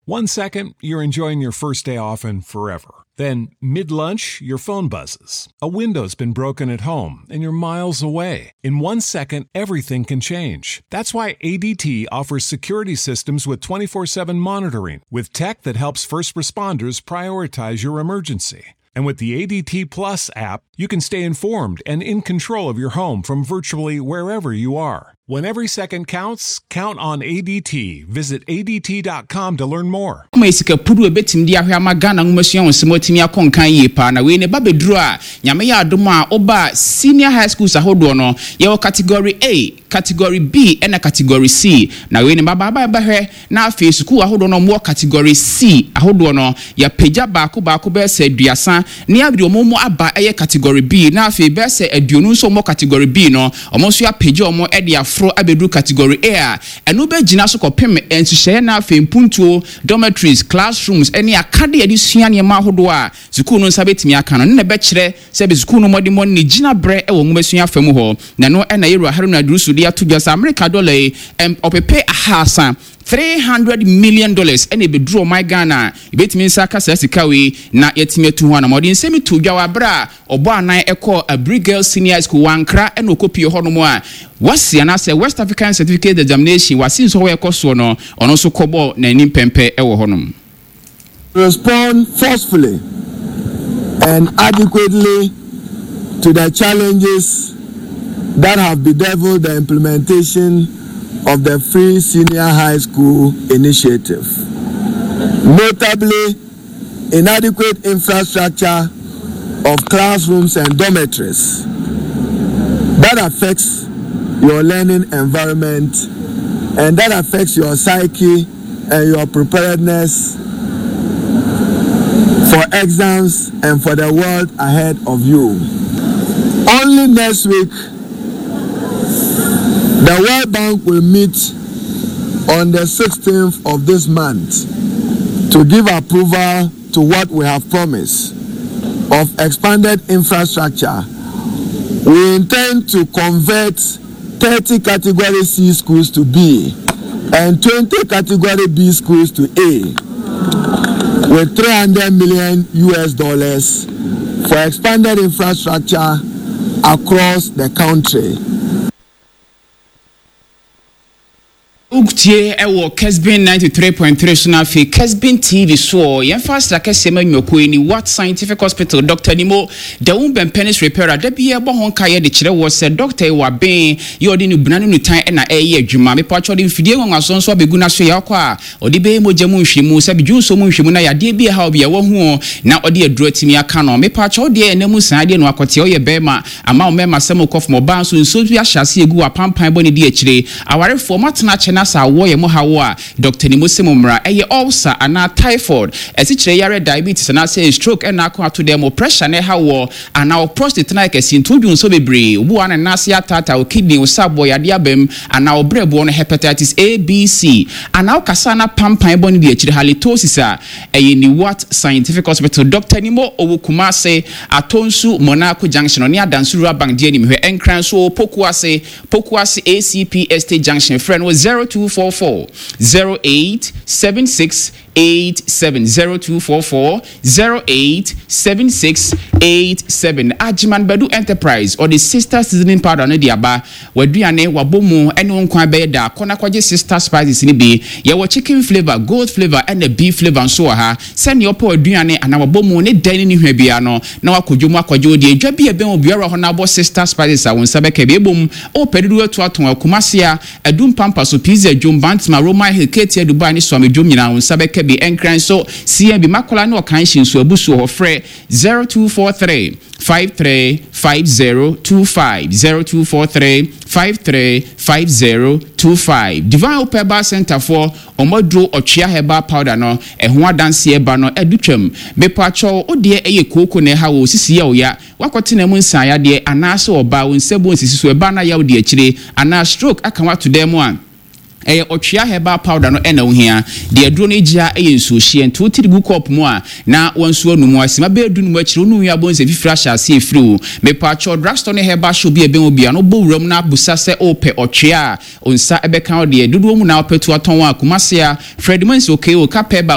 One second, you're enjoying your first day off and forever. Then, mid lunch, your phone buzzes. A window's been broken at home and you're miles away. In 1 second, everything can change. That's why ADT offers security systems with 24/7 monitoring, with tech that helps first responders prioritize your emergency. And with the ADT Plus app, you can stay informed and in control of your home from virtually wherever you are. When every second counts, count on ADT. Visit ADT.com to learn more. Kuma sika pudu ebetumi de ahwɛ ama Ghana nwomasua wɔn nsɛm atumi akɔ nkan yie paa. Na wei ne ba bɛduru a, Nyame yɛ adom a, ɔba senior high schools ahodoɔ no, yɛwɔ category A, category B ɛna category C. Na wei ne ba baaba bɛhwɛ na afei sukuu ahodoɔ no, wɔwɔ category C ahodoɔ no, yɛapagya baako baako bɛyɛ sɛ 30 ne yɛde wɔn mu aba ɛyɛ category B. Na afei bɛyɛ sɛ 20 nso wɔn category B no, wɔn nso yɛapagya wɔn ɛde aforo abɛduru category A a ɛno bɛgyina so kɔpem nhyehyɛeɛ. Na afei mpuntuo, dormitories, classrooms ɛne akade yɛde sua nneɛma ahodoɔ a sukuu no nsa bɛtumi aka no ne na ɛbɛkyerɛ sɛ bɛ sukuu no mmɔdemmɔ ne gyina berɛ ɛwɔ nwomasua fa mu hɔ. Na ɛno ɛna yɛwura Haruna Iddrisu de ato dwa sɛ Amerika dɔla yi ɔpepe 300, $300 million, ɛna ebeduru ɔman Ghana a ebetumi nsa aka saa sika wei na yɛtumi atu ho anam. Ɔde nsɛm to dwa wɔ abere a ɔbɔ anan ɛkɔ Aburi Girls Senior School wankra ɛna ɔkɔpie hɔnom a WASSCE anaasɛ West African Certificate Examination, WASSCE nso hɔ ɛkɔ soɔ no, ɔno nso kɔbɔ n'anim pɛmpɛ ɛwɔ hɔnom. Respond forcefully and adequately to the challenges that have bedeviled the implementation of the Free Senior High School initiative. Notably, inadequate infrastructure of classrooms and dormitories that affects your learning environment and that affects your psyche and your preparedness for exams and for the world ahead of you. Only next week, the World Bank will meet on the 16th of this month to give approval to what we have promised of expanded infrastructure. We intend to convert 30 category C schools to B and 20 category B schools to A with 300 million US dollars for expanded infrastructure across the country. Wotie ɛwɔ Kesbin 93.3 so no, afei Kesbin TV soɔ. Yɛmfa asra kɛseɛ ma nnwumakuo yi ni: Wat Scientific Hospital, Dr Nimo Dawun Bɛmpɛnis Repairer. Da bi ɛbɔ ho nka yɛde kyerɛ wɔ sɛ doctor yi wɔ aben yɛ ɔde ne buna ne nutan ɛna ɛyɛ adwuma. Mepatwɛ, ɔde mfidie nwanwaso nso abɛgu no so. Yɛ ɔkɔ a ɔde bɛyɛ mogya mu nhwehwɛmu, sɛ bidwonso mu nhwehwɛmu, na yadeɛ bi ɛha obi a wahu na ɔde aduro atumi aka no. Mepatwɛ, wodeɛ ɛnam mu saa deɛ no akɔteɛ, ɔyɛ bɛrima ama wo mmarima sɛm kɔ fam, ɔbaa nso nsuo bi ahyɛ ase egu apampan bɔ ne di akyire, awarefoɔ moatena akyɛ na sɛ awoɔ yɛ mo hawo a, Dr Nimo sɛ mo mmra. Ɛyɛ ulcer anaa typhoid, ɛsikyerɛ yare, diabetes anaasɛ stroke ɛna ako ato dɛm mo pressure na ɛha wɔ anaa wo prostate na ɛkɛse nti wodwu nso bebree, obi wɔ ne nan ase ataata, wo kidney, wo sabɔ yadeɛ abam anaa wo brɛboɔ no hepatitis A, B, C anaa wo kasa na pampan bɔ ne di akyire, halitosis a, ɛyɛ Niwat Scientific Hospital. Dr Nimo ɔwɔ Kumase, Atonsu Monaco Junction, ɔne Adanso Rural Bank di anim hwɛ. Ɛnkran so, Pokuase, Pokuase ACP Estate Junction. Frɛ no 0244 08 76 87, 0244 08 76 87. Agyeman Badu Enterprise ɔde Sister Seasoning Powder no de aba. W'aduane wabɔ mu ɛne wo nkwan bɛyɛ da kɔ na kɔgye Sister Spices no bi. Yɛwɔ chicken flavour, goat flavour ɛna beef flavour nso wɔ ha. Sɛnea ɔpɛ w'aduane anaa wabɔ mu ne dan ne ne hwa biara no na wakɔ dwom akɔgye wo deɛ. Dwa bi a ɛbɛn obiara hɔ na abɔ Sister Spices a, wo nsa bɛka bi. Ebom ɔpɛ dodoɔ atu atɔn Akumase a, Adum Pampa so, Pizza Dwom, Bantama, Roman Hill, Ketia, Dubai ne Suame Dwom nyinaa wo nsa bɛka bi. Ɛnkran so, CMB Makola ne Ɔkan hye nso abu so wɔ hɔ. Frɛ 0243 535025, 0243 535025. Divine Hope Herbal Center foɔ ɔmɔduro Ɔtwea Herbal Powder no ɛho adanseɛ ba no ɛdu twam. Mepatwɛw, wo deɛ ɛyɛ kooko na ɛha wɔ sisi yɛ wo ya, wakɔtena mu nsaeadeɛ, anaasɛ ɔbaa wo nsa bu nsisi so ɛbaa na yaw di akyire, anaa stroke aka wato dan mu a, ɛyɛ Ɔtwea Herbal Powder no ɛna wohia. Deɛ aduro no gyia ɛyɛ nsuohyeɛ nti wotiri gu kɔɔpo mu a na wɔn nso anum asima bɛyɛ 15 akyire wonu nwi abɔ nsɛ fifiri ahyɛ ase efiri wo. Mepatwɛ, drugstore ne herbal shop bi a ɛbɛn wo bia no, bɔ wuram na abusa sɛ ɔpɛ ɔtwea a, nsa ɛbɛka wo. Deɛ dodoɔ mu na wopɛ tu atɔn a, Kumase a, Fred Mansi okeo kapɛ ba.